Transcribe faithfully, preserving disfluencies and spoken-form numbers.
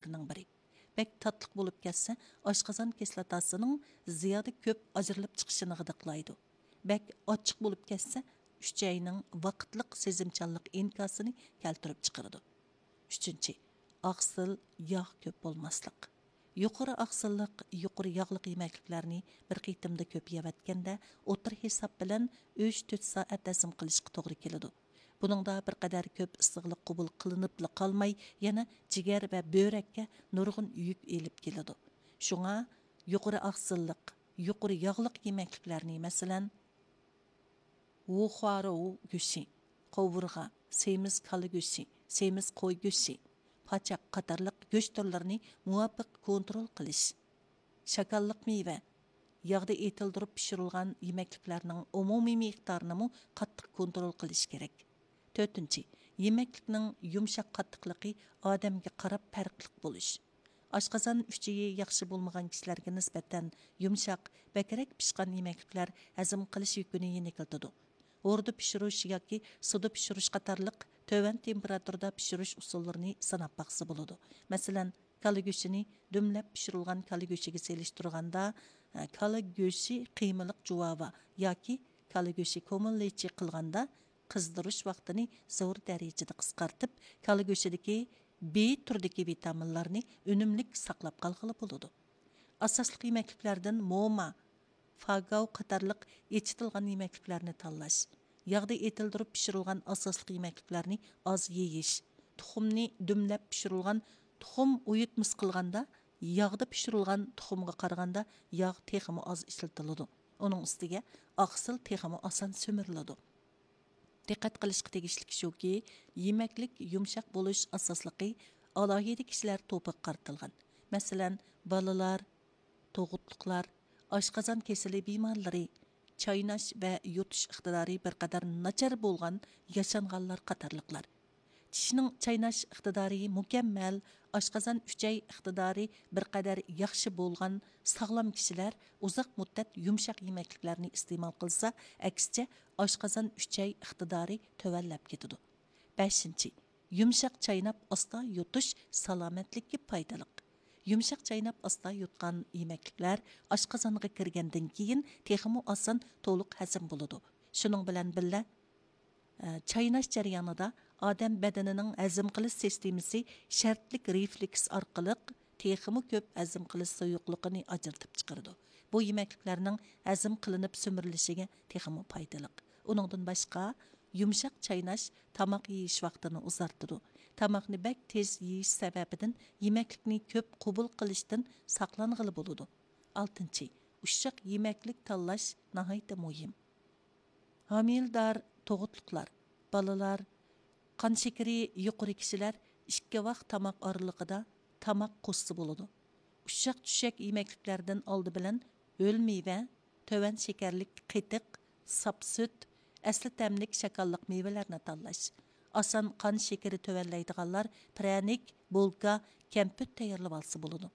ئىلىكلىرىنىڭ بىرى. بەك تاتلىق بولۇپ كەتسە، ئاشقازان كىسلاتاسىنىڭ زىيادە كۆپ ئاجرىلىپ چىقىشىنى غىدىقلايدۇ. بەك ئاچچىق بولۇپ كەتسە، ئۈچەينىڭ ۋاقىتلىق سېزىمچانلىق ئىنكاسىنى كەلتۈرۈپ چىقىرىدۇ. ئۈچىنچى، ئاقسىل، ياغ كۆپ بولماسلىق. يۇقىرى ئاقسىللىق، يۇقىرى ياغلىق يېمەكلىكلەرنى بىر قېتىمدا كۆپ يەۋەتكەندە، ئوتتۇرا ھېساب بىلەن ئۈچ تۆت سائەت ھەزىم قىلىشقا توغرا كېلىدۇ. بۇنىڭدا بىر قەدەر كۆپ ئىسسىقلىق قوبۇل قىلىنىپلا قالماي، يەنە جىگەر ۋە بۆرەككە نۇرغۇن يۈك ئېلىپ كېلىدۇ. شۇڭا يۇقىرى ئاقسىللىق، يۇقىرى ياغلىق يېمەكلىكلەرنى، مەسىلەن، ۋۇخۇارۇ گۆشى، قوۋۇرغا، سېمىز كالا گۆشى، سېمىز قوي گۆشى، پاچاق قاتارلىق گۆش تۈرلىرىنى مۇۋاپىق كونترول قىلىش. شاكاللىق مېۋە، ياغدا ئېتىلدۈرۈپ پىشۇرۇلغان يېمەكلىكلەرنىڭ ئومۇمىي مىقدارىنىمۇ قاتتىق كونترول قىلىش كېرەك. تۆتىنچى، يېمەكلىكنىڭ يۇمشاق قاتتىقلىقى ئادەمگە قاراپ پەرقلىق بولۇش. ئاشقازان ئۈچىيى ياخشى بولمىغان كىشىلەرگە نىسبەتەن يۇمشاق، بەكرەك پىشقان يېمەكلىكلەر ھەزىم قىلىش يۈكىنى يېنىكلىتىدۇ. ھوردا پىشۇرۇش ياكى سۇدا پىشۇرۇش قاتارلىق تۆۋەن تېمپېراتۇرىدا پىشۇرۇش ئۇسۇللىرىنى سىناپ باقسا بولىدۇ. مەسىلەن، كالا گۆشىنى دۈملەپ پىشۇرۇلغان كالا گۆشىگە سېلىشتۇرغاندا، ئە، كالا گۆشى قىيمىلىق جۇۋاۋا ياكى كالا گۆشى كومىللىچى قىلغاندا، قىزدۇرۇش ۋاقتىنى زور دەرىجىدە قىسقارتىپ، كالا گۆشىدىكى بى تۈردىكى ۋىتامىنلارنى ئۈنۈملۈك ساقلاپ قالغىلى بولىدۇ. ئاساسلىق يېمەكلىكلەردىن موما، فاگاۋ قاتارلىق ئېچىتىلغان يېمەكلىكلەرنى تاللاش، ياغدا ئېتىلدۈرۈپ پىشۇرۇلغان ئاساسلىق يېمەكلىكلەرنى ئاز يېيىش، تۇخۇمنى دۈملەپ پىشۇرۇلغان تۇخۇم ئۇيۇتمىسى قىلغاندا، ياغدا پىشۇرۇلغان تۇخۇمغا قارىغاندا ياغ تېخىمۇ ئاز ئىشلىتىلىدۇ. ئۇنىڭ ئۈستىگە ئاقسىل تېخىمۇ ئاسان سۈمۈرۈلىدۇ. دىققەت قىلىشقا تېگىشلىك شۇكى، يېمەكلىك يۇمشاق بولۇش ئاساسلىقى ئالاھىدە كىشىلەر توپىغا قارىتىلغان. مەسىلەن، بالىلار، تۇغۇتلۇقلار، ئاشقازان كېسىلى بىمارلىرى، چايناش ۋە يۇتۇش ئىقتىدارى بىر قەدەر ناچار بولغان ياشانغانلار قاتارلىقلار. چىشنىڭ چايناش ئىقتىدارى مۇكەممەل، ئاشقازان ئۈچەي ئىقتىدارى بىر قەدەر ياخشى بولغان ساغلام كىشىلەر ئۇزاق مۇددەت يۇمشاق يېمەكلىكلەرنى ئىستېمال قىلسا، ئەكسىچە ئاشقازان ئۈچەي ئىقتىدارى تۆۋەنلەپ كېتىدۇ. بەشىنچى، يۇمشاق چايناپ ئاستا يۇتۇش سالامەتلىككە پايدىلىق. يۇمشاق چايناپ ئاستا يۇتقان يېمەكلىكلەر ئاشقازانغا كىرگەندىن كېيىن تېخىمۇ ئاسان تولۇق ھەزىم بولىدۇ. شۇنىڭ بىلەن بىللە، ئە، چايناش جەريانىدا ئادەم بەدىنىنىڭ ھەزىم قىلىش سىستېمىسى شەرتلىك رېفلېكس ئارقىلىق تېخىمۇ كۆپ ھەزىم قىلىش سۇيۇقلۇقىنى ئاجرىتىپ چىقىرىدۇ. بۇ يېمەكلىكلەرنىڭ ھەزىم قىلىنىپ سۈمۈرۈلۈشىگە تېخىمۇ پايدىلىق. ئۇنىڭدىن باشقا، يۇمشاق چايناش تاماق يېيىش ۋاقتىنى ئۇزارتىدۇ. تاماقنى بەك تېز يېيىش سەۋەبىدىن يېمەكلىكنى كۆپ قوبۇل قىلىشتىن ساقلانغىلى بولىدۇ. ئالتىنچى، ئۇششاق يېمەكلىك تاللاش ناھايىتى مۇھىم. ھامىلىدار، تۇغۇتلۇقلار، بالىلار، قان شېكىرى يۇقىرى كىشىلەر ئىككى ۋاق تاماق ئارىلىقىدا تاماق قوشسا بولىدۇ. ئۇششاق چۈشەك يېمەكلىكلەردىن ئالدى بىلەن ھۆل مېۋە، تۆۋەن شېكەرلىك قېتىق، ساپ سۈت، ئەسلى تەملىك شاكاللىق مېۋىلەرنى تاللاش. ئاسان قان شېكىرى تۆۋەنلەيدىغانلار پىرەنىك، بولكا، كەمپۈت تەييارلىۋالسا بولىدۇ.